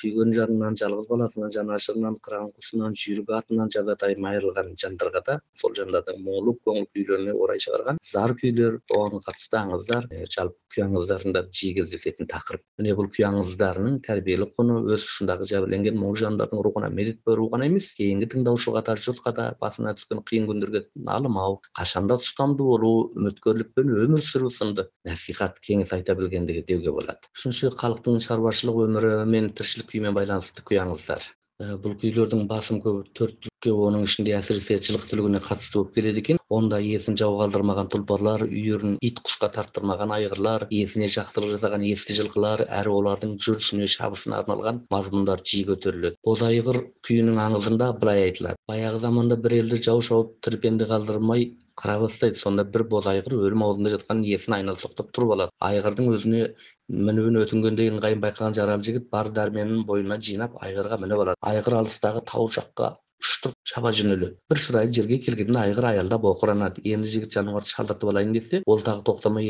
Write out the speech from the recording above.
сүйгөн жанынан, жалгыз баласынан, жанашырынан, кырган-кусунан, жүйрүк атынан жазатайым айрылган жандарга да ошол жандардын моңлук көңүл күүлөрүнө орай чыгарган зар күйлөр, оған катыштуу аңыздар, жалпы күй аңыздарында жиі кездешетін тақырып. Міне бұл күй аңыздарынын тәрбиелик куну өз ушундагы жабырленген моң жандардын рухуна медитпөө гана эмес, кийинки тыңдаушуга да, журтка да басына түшкөн кыйын күндөргө алымау, качанда тустамдуу болуу, үмүткөрлүкпөн өмүр сүрүү сынды насихат кеңес айта билгендиги деуге болот. Үчүнчү, калктын чарбачылык өмүрү менен тиричилик күйү менен байланыштуу күй аңыздар. Бул күйлөрдүн басым көбү төрттүккө, онун ичинде асиресе жылык түлүгүнө катыштуу болуп келет экен. Онда ээсин жабы калтырмаган тулпарлар, үйүрүн ит кушка тартырмаган айгырлар, ээсине жакшылык жасаган эски жылкылар, әрі олардын жүрүшүнө, шабысына арналган мазмундар жиі көтөрүлөт. Боз айгыр күйүнүн аңызында былай айтылат: баягы заманда бир элди жау шауып тирпенди калтырмай кара баштайт. Сонда бир боз айгыр өлүм алдында жаткан ээсин айнала токтоп туруп алат. Айгырдын өзүнө мінүүнү өтүнгөндөн кийин ыңгайын байкаган жарал жигит бар дарменин боюна жыйнап айгырга минип алат. Айгыр алыстагы тау жакка уштуп чаба жөнөлөт. Бир шырайы жерге келгенде айгыр аялдап окуранат. Эмди жигит жаныбарды шалдыртып алайын десе, ол дагы токтомой